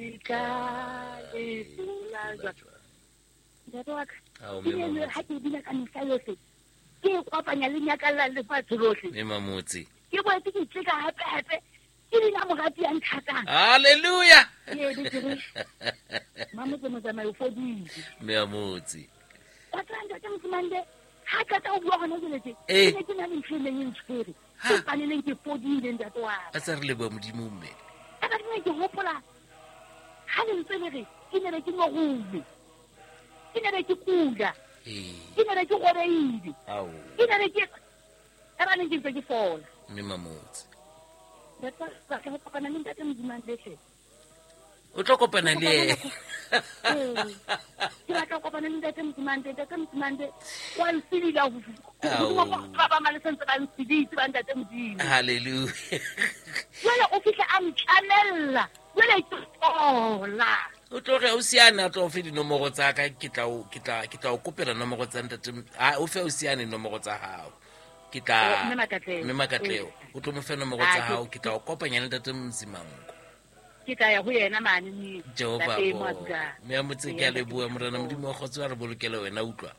Ke tla le hlola jwang. Ntate wa ka, ke ne ha ke bina ka mehla yohle, ke e kopanya le nyakalla lefatshe lohle. Mme Mamotse. Ke boetse ke tleka hape hape, ke bina morati ya nthatang. Hallelujah. Ke be ke re, Mamotse motsamai o fodile. Mme Mamotse. Wa tseba ntate Mosimane, ha qeta ho bua hona jwale tje, ke ne ke na le ntho e neng e ntshwere. Ke mpaneleng ke fodile ntate wa ka. A tsa re leboha Modimo mme. Ka ba ke ke hopola ha le ntse le re ke ne be ke nyorume. Ke ne be ke kula. Ke ne be ke robeile. Ke ne be ke ka ba neng ke ntse ke fola. Mme Mamotse. Ntate wa ka, ho kopana le ntate Modimo le hle. O tlo kopana le ena. Ke batla ho kopana le ntate Mosimane, ntate Mosimane wa nsedila ho hodimo ba ba male sentse ba nseditse ba ntate Modimo. Hallelujah. Jwale o fihla a ntlamella, jwale ke fola. O tlo re o siane a tlo o fe dinomoro tsa ka, ke tla o, ke tla, ke tla o kopela nomoro tsa ntate, ha o fe o siane nomoro tsa hao. Ke tla Oh, Mme Makatleho. Mme Makatleho. O tlo mo fe nomoro tsa hao, ke tla o kopanya le ntate Mzimango. Ke tla ya ho yena mane mme Jehova ntate bo. mo a dulang. Mme a motse ke a leboha Morena Modimo wa kgotso a re bolokele wena utlwa.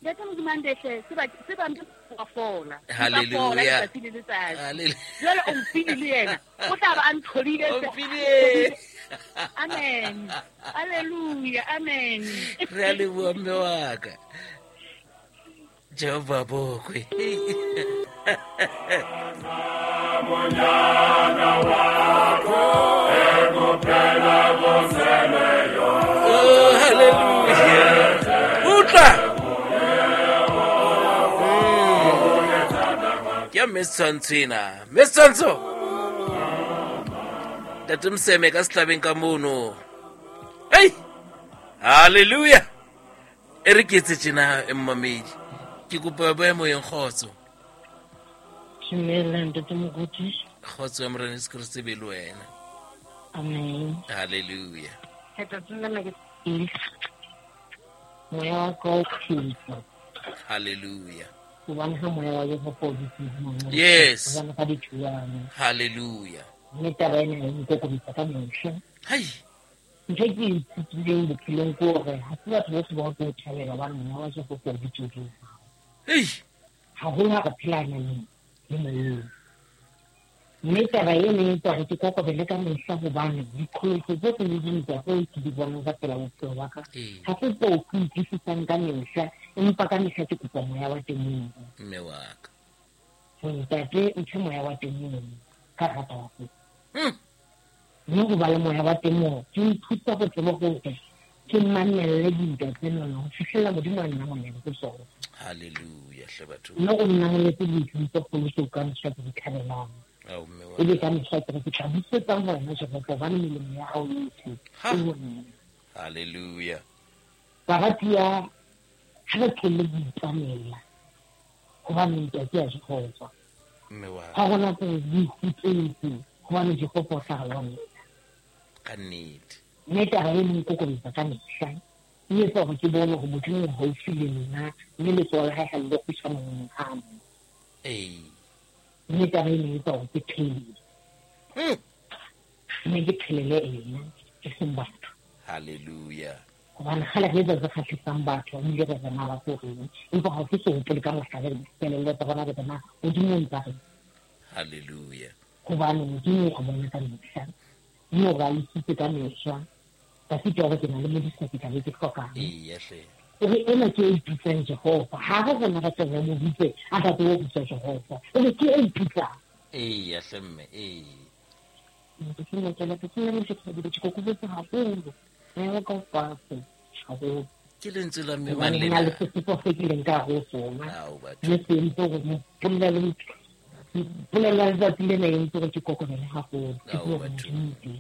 Ntate Modimo a ndehle, se ba, se ba ntse wa fola. Hallelujah. Wa fola letsatsi le letsatsi. Hallelujah. Jwale o mphile le yena. O tla ba a ntholile O se. mphile. Amen. Hallelujah. Amen. Re a leboha mme wa ka. Jehova bokwe. Oh, hallelujah. Utlwa. Ke ya mme Setshwantsho ena. Mme Setshwantsho. Ntate Moseme ka sehlabeng ka mono. Hey! Hallelujah. E re ke etse tjena, mmamedi. Ke kopa ba moyeng kgotso. Dumela ntate Moruti. Kgotso ya Morena Jesu Kriste be le wena. Amen. Hallelujah. Letsatsi lena ke moya wa ka o phedisa. Hallelujah. Hobane ha moya wa Jehova o dutse ho nna, Yes. hobane ka dithuwana. Hallelujah. Mme taba ena e nkokobetsa ka mehla. Hai. Ntho e ke e ithutileng bophelong ke hore ha se batho bohle ba tlo o thabela hobane moya wa Jehova o dutse ho nna. Ei. Haholo ha re phela nameng le moyeng. Mme taba e neng e etsa hore ke kokobele ka mehla hobane diqholotso tsohle le dintwa tseo ke di bonang ka pela bophelo ba ka, ha se tseo ke utlwisisang ka mehla, empa ka mehla ke kopa moya wa temoho. Mme wa ka. Ho ntate, mphe moya wa temoho ka rata wa kopa. Mme ho ba le moya wa temoho, ke nthusa ho tseba hore ke mamelle dintwa tsena ho fihlella Modimo a nna monene ke tsona. Hallelujah, hle batho. Mme o nnamoletse dintho tse kgolo tseo ka mehla ke di thabelang. Ao, mme wa Ebe ka. ka mehla ke re ke tla busetsang ho wena, Jehova, hobane melemo ya hao yohle Ha. e ho nna. Hallelujah. Baratuwa, ha re tlohelle ho itwanela, hobane ntwa ke ya Jehova. Mme wa Ha hona tse di hutsetse, hobane Jehova o tla re lwanela. Ka nnete. Mme taba e neng kokobetsa ka mehla, e etsa hore ke bone hore Modimo o haufi le nna, mme letsoho la hae ha le kgutshwane ho nna. Ee. Mme taba e neng etsa hore ke phele. Mme ke phelele ena, e seng batho. Hallelujah. Hobane kgale re etsa tse kgahlisang batho, ebile re rena ba tlo reng. Empa ha ke so hopole ka mohla re kelello tsa rona re bona Modimo o ntsa reng. Hallelujah. Hobane Modimo o re bona ka mehla, mme o re alositse ka mehla. Ka sitwa hore ke na le modisa ke tla be ke hlokang. Eya hle. O re ena ke e ipitsang Jehova. Ha re rona re tle re mo bitse, a tla tsebe ho bitsa Jehova. O re ke e ipitsang. Eya hle mme, ee. Ke sena ke la ke sena le ke ke kokobetse haholo. Moya wa ka o fatshe haholo. Ke lentswe la mme Hobane mang ho na lena? le sesupo se ke leng ka hare ho sona. Ao, batho. Mme se entse hore polelo polelo ya letsatsi lena e entse hore ke kokobele haholo. Ke Ao, tsebe hore batho. Modimo o teng.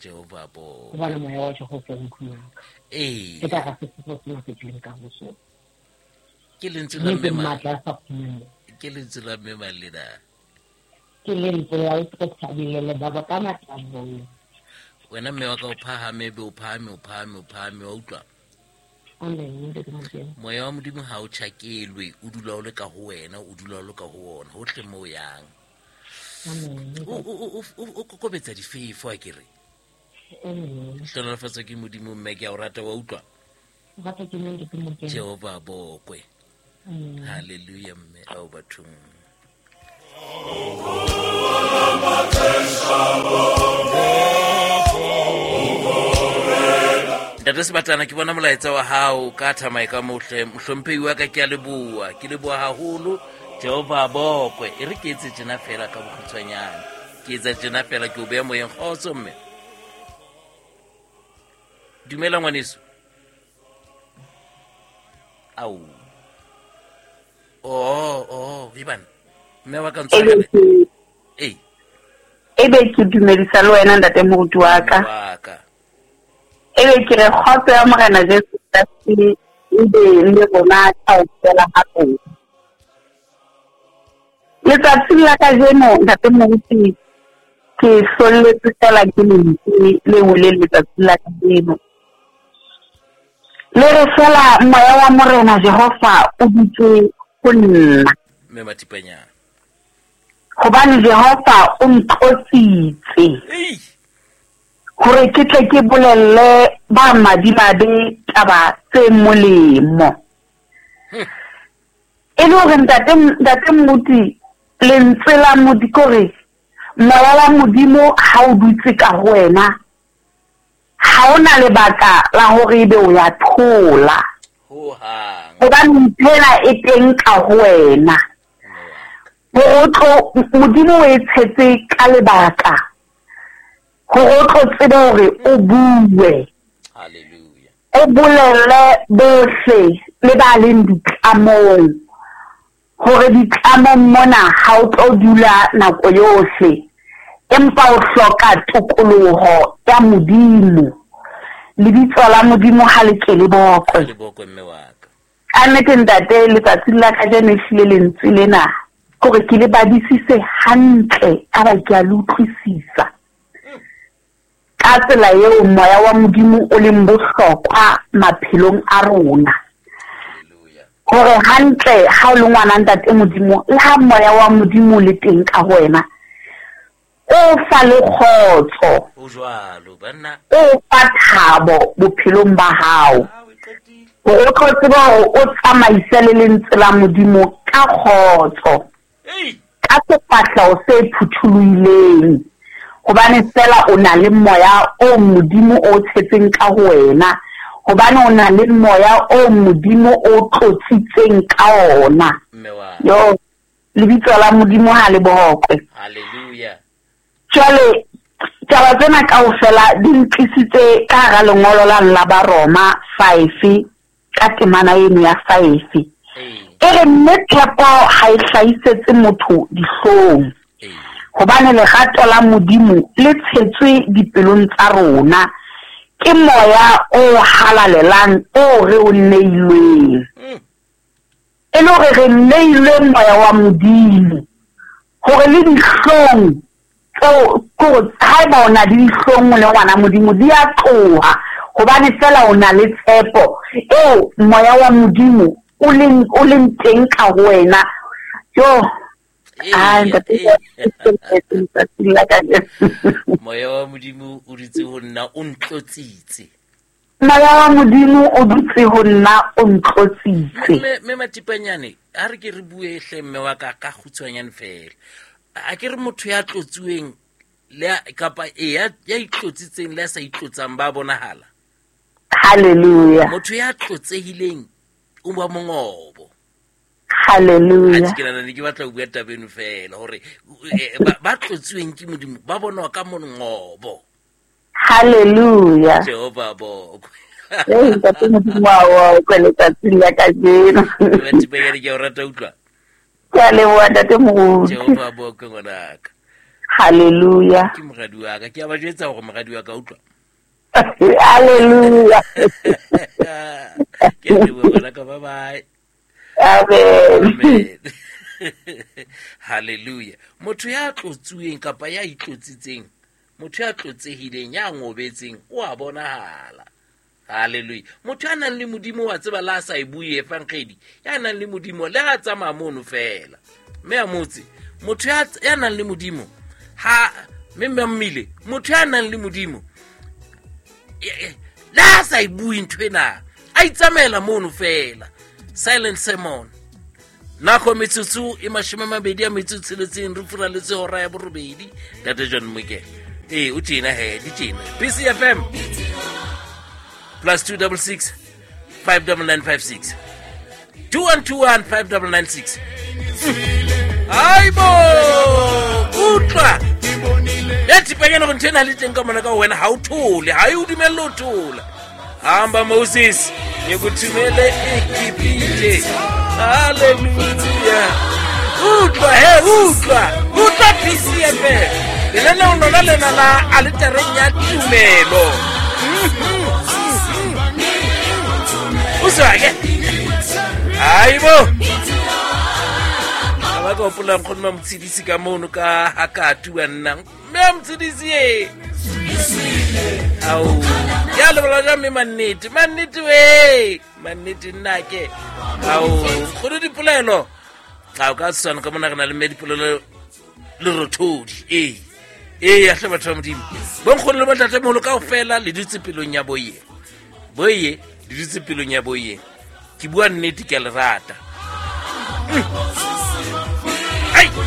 Jehova bo. Hobane moya wa Jehova o ntlong ya ka. Ee. Ke ka hara sesupo sena se ke leng ka hare ho sona. Ke lentswe la Mme ke mme mang? matla a sa kgoneng. Ke lentswe la mme mang lena? Ke lentswe la o thabile le baba ka matla a bona. Wena mme wa ka o phahame, be o phahame, o phahame, o phahame, wa utlwa? Amen, ntate Modimo. Moya wa Modimo ha o tjhakelwe, o dula o le ka ho wena, o dula o le ka ho ona, hohle moo o yang. Amen. O kokobetsa difefo, a ke re? Hlohonolofatswa ke Modimo mme ke a o rata wa utlwa. Jehova bokwe. Hallelujah mme ao bathong. Ntate Sebatana ke bona molaetsa wa hao ka thamae ka mohle mohlomphehi wa ka ke a leboha ke leboha haholo Jehova bokwe e re ke etse tjena fela ka bokgutshwanyane ke etsa tjena fela ke o beya moyeng kgotso mme dumela ngwaneso ao oh oh ibana mme wa ka ntshwarele ee ebe ke dumedisa le wena ntate moruti wa ka ebe ke re kgotso ya morena Jesu Kreste ebe le rona kaofela ha rona. Letsatsing la kajeno ntate moruti ke hlolletswe fela ke lentswe le weleng letsatsing la kajeno. Le re fela moya wa morena Jehova o dutse ho nna. Mme Mathipanyana. Hobane Jehova o ntlotsitse. Hore ke tle ke bolelle ba madimabe taba tse molemo. E le hore ntate ntate Mmuti lentswe la Modimo kore moya wa Modimo ha o dutse ka ho wena ha o na lebaka la hore ebe o ya thola. Hobane ntho ena e teng ka ho wena. Hore o tlo Modimo o e tshetse ka lebaka. Hore o tlo tsebe hore o bue. O bolelle bohle le ba leng ditlamong hore ditlamong mona ha o tlo dula nako yohle empa o hloka tokoloho ya Modimo. Lebitso la Modimo ha le ke le bokwe. Ka nnete ntate letsatsing la kajeno ehlile lentswe lena kore ke le badisise hantle ka ba ke a le utlwisisa. Ka tsela eo moya wa Modimo o leng bohlokwa maphelong a rona. Hore hantle ha o le ngwana ntate Modimo le ha moya wa Modimo o le teng ka ho wena o fa le kgotso, o fa thabo bophelong ba hao. Hore o tlo tseba hore o tsamaise le lentswe la Modimo ka kgotso, ka sefahleho se phuthulohileng, hobane fela o na le moya o Modimo o tshetseng ka ho wena, hobane o na le moya o Modimo o tlotsitseng ka ona. Yo, lebitso la Modimo ha le bokwe. Hallelujah. Jwale taba tsena kaofela di ntlisitse ka hara lengolo la la Baroma 5 ka temana eno ya 5. E re mme tshepo ha e hlahisetse motho dihlong, hobane lerato la Modimo le tshetswe dipelong tsa rona ke moya o halalelang o re o neilweng. E le hore re neilwe moya wa Modimo hore le dihlong tseo kore haeba o na le dihlong o le ngwana Modimo di a tloha, hobane fela o na le tshepo eo moya wa Modimo o leng teng ka ho wena. Yo, moya wa Modimo o dutse ho nna o ntlotsitse. Moya wa Modimo o dutse ho nna o ntlotsitse. Mme Mathipanyane, a re ke re bue hle mme wa ka ka kgutshwanyane fela. A ke re motho ya tlotsiweng le kapa ya itlotsitseng le ya sa itlotsang ba bonahala. Hallelujah. Motho ya tlotsehileng o ba mongobo. Hallelujah. Ke nana ke batla ho bua taba eno fela hore ba tlotsiweng ke Modimo ba bonwa ka mongobo. Hallelujah. Jehova bokwe. Ee, ntate Modimo wa o letsatsing la kajeno. Mathipanyane ke a o rata utlwa. Ke a leboha ntate Moruti. Jehova bokwe ngwanaka. Hallelujah. Ke moradi wa ka, ke a ba jwetsa hore moradi wa ka utlwa. Hallelujah. Ke a leboha ngwanaka, bye bye. Amen. Amen. Hallelujah. Motho ya tlotsuweng kapa ya itlotsitseng, motho ya tlotsehileng, ya ngobetseng, o a bonahala. Hallelujah. Motho ya nang le Modimo wa tseba la sa e bue efankgedi, ya nang le Modimo le ha tsamaya mono fela. Mme a motse, motho ya nang le Modimo ha mme mme mmile, motho ya nang le Modimo Le ha sa e bue ntho ena, a itsamaela mono fela. Silent sermon. Nako metsotso e 26 re furaletse hora ya 8. Ntate John Moke. Ee, o tjena he, di tjena. PCFM +266 59956 2121 5996. Haibo, utlwa ya thipanyana gore ntho ena le teng ka mona ka wena, ha o thole, ha e o dumelle ho thola. Hamba Moses, ngikuthumele eGibhithe. Hallelujah. Utlwa he, utlwa, utlwa PCFM. Lenaneo lona lena la aletareng ya tumelo. Uzwa ke? Haibo. Ba ka hopola nkgono Mamotshedisi ka mono ka hakatu wa nna. Mme a Motshedisi e. Ao. Ya lebola ja mme mannete, mannete we. Mannete nna ke. Ao, nkgono Dipolelo. A o ka tshwana ka mona re na le mme Dipolelo le rothodi. Ee. Ee, ya hle batho ba Modimo. Bonkgono le bontatemoholo kaofela le dutse pelong ya boye. Boye, le dutse pelong ya boye. Ke bua nnete, ke a le rata.